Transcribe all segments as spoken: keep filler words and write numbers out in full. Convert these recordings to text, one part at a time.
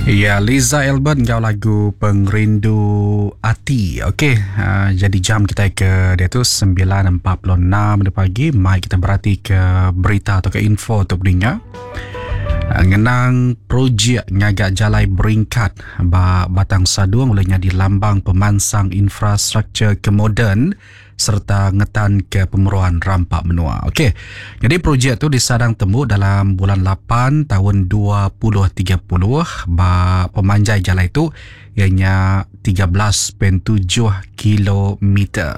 Ya, Liza Albert ngau lagu Pengerindu Ati. Okey, uh, jadi jam kita ke dia tu sembilan empat puluh enam pagi. Mai kita berarti ke berita atau ke info untuk pendengar. Uh, ngenang projek ngagak jalai beringkat ba Batang Sadung olehnya di lambang pemansang infrastruktur kemoden serta ngetan ke pemeruan rampak menua. Okey. Jadi projek tu disadang temu dalam bulan lapan tahun dua ribu tiga puluh ba pemanjai jalan itu ianya tiga belas perpuluhan tujuh kilometer.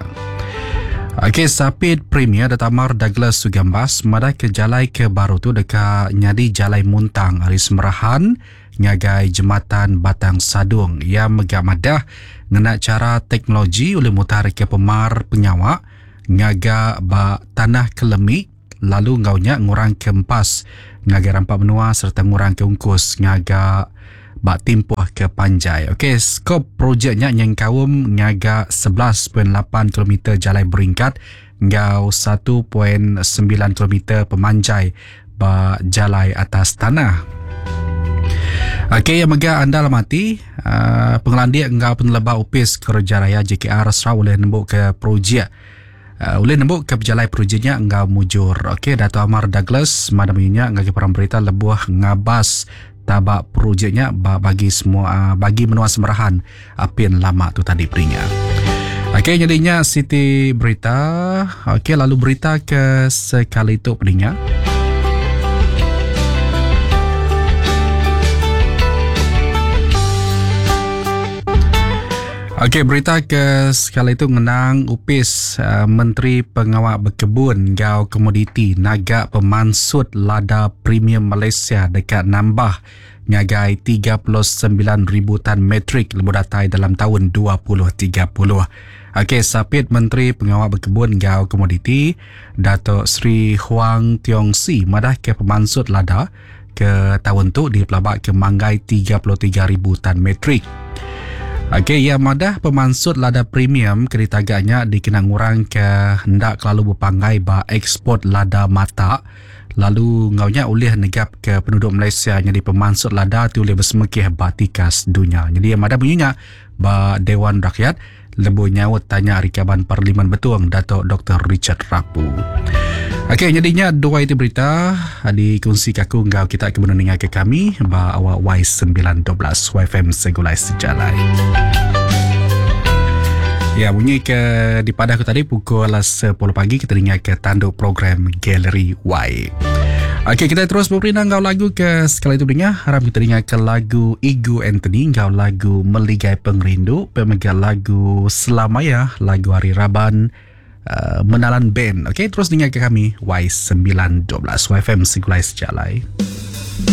Okey, Sapit Premier Dato' Amar Douglas Uggah Embas madah ke jalai ke baru tu dekat nyadi jalai muntang ari Semerahan ngagai jematan Batang Sadung. Ia megak madah ngena cara teknologi oleh mutar ke pemar penyawak ngaga ba tanah kelemi lalu ngaunya ngurang ke empas ngagai rampak menua serta ngurang ke ungkus ngaga ba timpuh ke panjai. Okey, skop projeknya nyengkaum ngaga sebelas perpuluhan lapan kilometer jalai beringkat ngau satu perpuluhan sembilan kilometer pemanjai ba jalai atas tanah. Okey, yang mega anda lamati uh, pengelandik ngau peneleba upis kerja raya J K R Sarawak boleh nembuk ke projek uh, boleh nembuk ke berjalai projeknya ngau mujur. Okey, Dato' Amar Douglas madam inya ngagi perang berita lebuh ngabas tabak projeknya bagi semua bagi menua Semerahan apin lama tu tadi perinya. Okey, jadinya Siti berita. Okey, lalu berita ke sekali tu perinya. Okey, berita ke sekali itu mengenang upis uh, Menteri Pengawal Berkebun Gau Komoditi naga pemansut lada premium Malaysia dekat nambah ngagai tiga puluh sembilan ribu tan metrik lebuh datai dalam tahun dua ribu tiga puluh. Okey, Sapit Menteri Pengawal Berkebun Gau Komoditi Dato' Sri Huang Tiong Si madah ke pemansut lada ke tahun tu di pelabak ke manggai tiga puluh tiga ribu tan metrik. Okey, ya madah pemansut lada premium kereta agaknya dikenang orang ke hendak kelalu berpanggai ba ekspor lada mata lalu ngaunya oleh negap ke penduduk Malaysia jadi pemansut lada tu oleh bersemekih ba tikas dunia. Jadi yang madah bunyinya ba Dewan Rakyat lebuh nyaut tanya Rikaban Parlimen Betuang Dato' Doktor Richard Rapu. Okey, jadinya dua itu berita dikongsi kaku ngau kita ke mendengar ke kami ba awak Y sembilan dua belas Y F M Segulai Sejalai. Ya, bunyi ke di pada aku tadi pukul sepuluh pagi kita dengar ke tanduk program Galeri Y. Okey, kita terus berperindang ngau lagu ke sekali itu dengar. Harap kita dengar ke lagu Igu Anthony ngau lagu Meligai Pengerindu, pemegang lagu Selamaya, lagu Hari Raban Uh, Menalan Band. Okey, terus dengar ke kami Y sembilan dua belas Y F M Segulai Sejalai.